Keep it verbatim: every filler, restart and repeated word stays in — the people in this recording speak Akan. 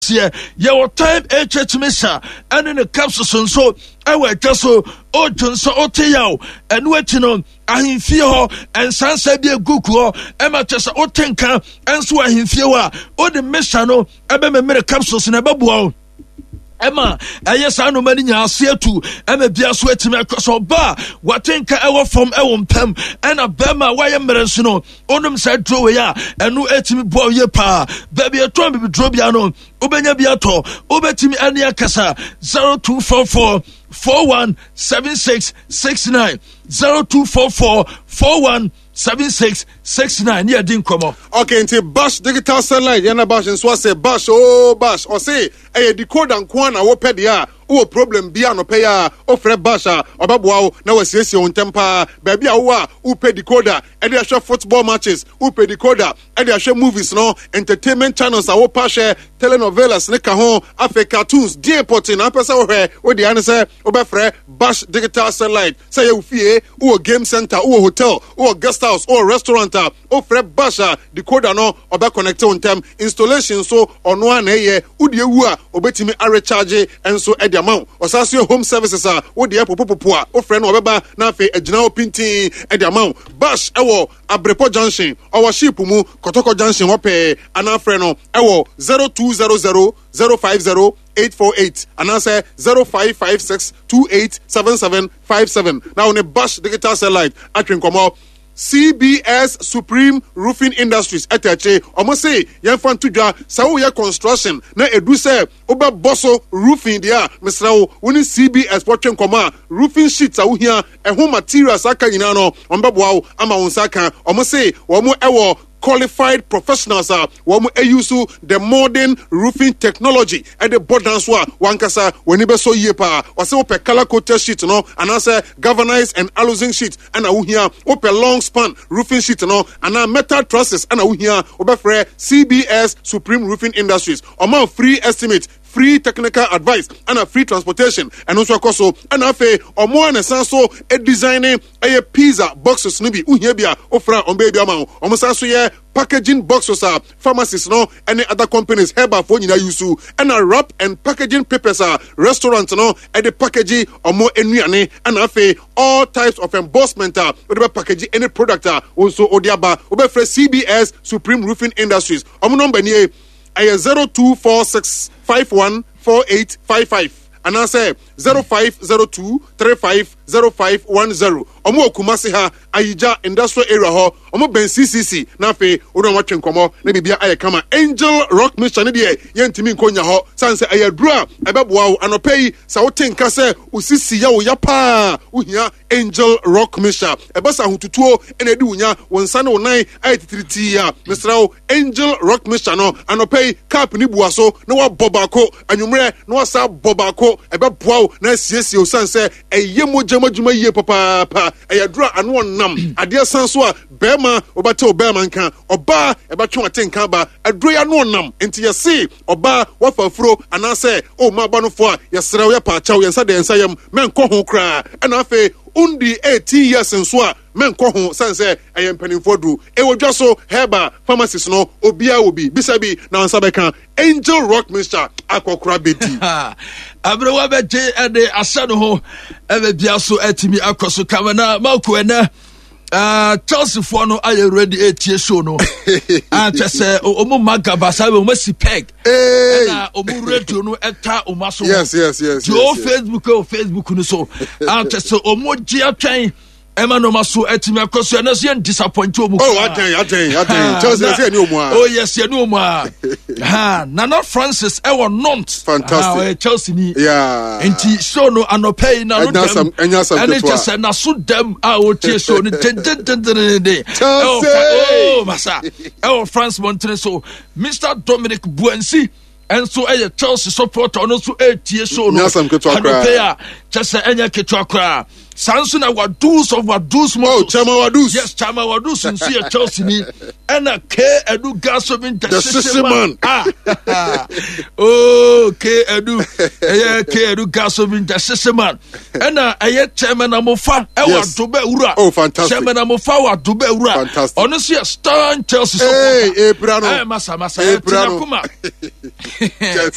ɛteɛ. Yɛwɔ Time H H mixture ɛne ne capsules nso ɛwɔ adwa so. Ɔdwo nso ɔte yaw, ɛno akyi no ahemfie hɔ nsansa bi egu hɔ ɛma kyɛ sɛ wote nka nso wɔ ahemfie hɔ a, wode mixture no ɛbɛmemere capsules na ɛbɛboa wo ɛma ɛyɛ saa nnoma no nyinaa ase atu, ɛma bia so atumi akɔ so. Ɔba a wate nka ɛwɔ fam ɛwɔ mpam, ɛna bɛrima a wayɛ mmerɛ nso no, wonom saa duro wei a, ɛno atumi boa wo yie paa. Baabi ɛtɔn bibiduro bia no, wobɛnya bi atɔ. Wobɛtumi ɛne akasa zero two four four four one seven six six nine, zero two four four four one seven six six nine, ne yɛdi nkɔmmɔ. Okay, nti Bash Digital Satellite yɛn na Bash nso asɛ Bash o Bash ɔse ɛyɛ decoder nko a na wopɛ deɛ a, wowɔ problem bi anɔpɛ yi a, wofrɛ Bash a, ɔbɛboa wo na wasiesie wo ntɛm paa. Baabi a wowɔ a wopɛ decoder ɛde ahwɛ football matches, wopɛ decoder ɛde ahwɛ movies no, entertainment channels a wopɛ ahwɛ, telenovelas ne ka ho, afei cartoons deɛ pɔte na apɛ sɛ wohwɛ, wode ane sɛ wobɛfrɛ Bash Digital Satellite. Sɛ yɛ wo fie, wowɔ game center, wowɔ hotel, wowɔ guest house, wowɔ restaurant a, wofrɛ Bash a, decoder no ɔbɛconnect wo ntɛm. Installation nso ɔno a na ɛyɛ. Wode ewu a, obɛtumi arecharge nso ɛde ama wo. Ɔsan so yɛ home services a, wode ɛpopopopo a, wofrɛ no ɔbɛba na afei agyina hɔ pintin ɛde ama wo. Bash ɛwɔ Abrepɔ Junction, ɔwɔ ship mu Kɔtɔkɔ Junction hɔ pɛɛ, anaa frɛ no ɛwɔ zero two zero zero zero five zero eight four eight anaasɛ zero five five six two eight seven seven five seven na wo ne Bash Digital Satellite atwe nkɔmmɔ. C B S Supreme Roofing Industries ɛtɛ akyi, ɔmo se yɛmfa nto dwa sɛ woyɛ construction na edu sɛ wobɛbɔ so roofing deɛ a, mesrɛ wo, wo ne C B S wɔtwe nkɔmmɔ a, roofing sheets a wohia, ɛho materials aka nyinaa no, ɔmo bɛboa wo ama wo nsa ka. Ɔmo se wɔn ɛwɔ qualified professionals a wɔn use the modern roofing technology ɛde bɔ dan so a, wankasa w'ani bɛsɔ yie paa. Ɔsɛ wopɛ colour coated sheet no anaasɛ galvanized and aluzinc sheet ɛna wohia, wopɛ long span roofing sheet no anaa metal trusses ɛna wohia, wobɛfrɛ C B S Supreme Roofing Industries. Ɔma free estimate, free technical advice ɛna free transportation. Ɛno nso ɛkɔ so. Ɛna afei ɔmo a na san so design ɛyɛ pizza boxes no bi, wohia bi a, wofrɛ a, ɔmo bɛyɛ bi ama wo. Ɔmo san so yɛ packaging boxes a pharmacies no ɛne other companies, herbalfoɔ nyinaa use, ɛna wrap and packaging papers a restaurant no ɛde package ɔmo nnuane, ɛna afei all types of embossment a wode bɛ package any product a wo nso wode aba. Wobɛfrɛ C B S Supreme Roofing Industries. Ɔmo number nie, ɛyɛ zero two four six five one four eight five five anaasɛ zero five zero two three five zero five one zero. Ɔmo wɔ Kumasi ha, Ayigya Industrial Area hɔ, ɔmo bɛn C C C. Na afei wɔn a wɔatwe nkɔmɔ na biribia ayɛ kama. Angel Rock Mixture ne deɛ, yɛntumi nkɔ nya hɔ san sɛ ɛyɛ aduro a ɛbɛboa wo. Anɔpɛ yi, sɛ wote nka sɛ osisi yɛ wo ya paa, wohia Angel Rock Mixture. Ɛbɛ sɛ ahotutuo ɛna ɛdi wo nya, wo nsa ne wo nan ayɛ titiritii a, mesrɛ wo, Angel Rock Mixture no anɔpɛ yi, cup ne bua so na wabɔ baako, anwummerɛ na wasa bɔ baako. Ɛbɛboa wo na asiesie wo san sɛ ɛyɛ mogya mu adwuma yie papaapa. Ɛyɛ aduro a ano ɔnam adeɛ san so a, bɛrima wobɛte wo bɛrima nka, ɔbaa ɛbɛtwe wate nka ba. Aduro yi ano ɔnam, nti yɛse ɔbaa wafa afuro anaasɛ ɔma aba no fo a, yɛserɛ wo, yɛpa akyɛw, yɛnsa deɛ yɛnsa yam mɛnkɔ ho koraa. Ɛna afei undi eighteen years nso a, mɛnkɔ ho sane sɛ ɛyɛ mpanimfoɔ duro. Ɛwɔ dwa so, herbal pharmacies no obiara wɔ bi, bisa bi na nsa bɛka Angel Rock Mixture akɔkora bɛdi. Aberewa bɛgye ɛde ahyɛ no ho, ɛbɛ bia so atumi akɔ so kama. Na Marco, ɛnɛ uh, Chelsea foɔ no ayɛ ready etie show no akyɛ sɛ ɔmo ma gaba saa bɛ ɔmo asi peg, ɛna ɔmo radio no ɛta ɔmo aso. yes yes yes Deɛ ɔwɔ Facebook, ɛwɔ Facebook no so akyɛ sɛ ɔmo gye atwɛn ɛma nneɛma so atumi akɔ so. Ɛno so yɛn disappoint ɔmo. Oh, adɛn, adɛn, adɛn? Chelsea yɛ ni ɔmo a. Oh yes, yɛ ni ɔmo a. Ha Nana Francis ɛwɔ Nantes. Fantastic. Ɔyɛ Chelsea ni. Yeah. Nti show no anɔpɛ yi n'ano dɛm ɛnya asɛm ɛne ketewa. Kyɛ sɛ n'aso dɛm a ɔtie show no dendendendenden. Chelsea! Ɛwɔ, oh masa, ɛwɔ France mɔntene so, Mister Dominic Buensi ɛnso ɛyɛ Chelsea supporter, ɔno nso ɛretie show no Nyɛ asɛm ketewa koraa. anɔpɛ yi a, kyɛ sɛ ɛnyɛ ketewa koraa. Saa nso na Wadus of Wadus Oh, Motors. Chairman Wadus. Yes, Chairman Wadus nso yɛ Chelsea ni. Ɛna K Edu Gasovin, the The Sisi Sisi man. man. Ah, oh, K Edu, ɛyɛ K Edu Gasovin, the Sisi man. Ɛna ɛyɛ Chairman Amofa ɛwɔ Yes. Adobe Wura. Oh, fantastic. Chairman Amofa wɔ Adobe Wura. Fantastic. Ɔno nso yɛ star Chelsea Hey, supporter. Epira no. Ɛɛ, masa masa, ɛyɛ Epira no. Tinakuma. Chelsea.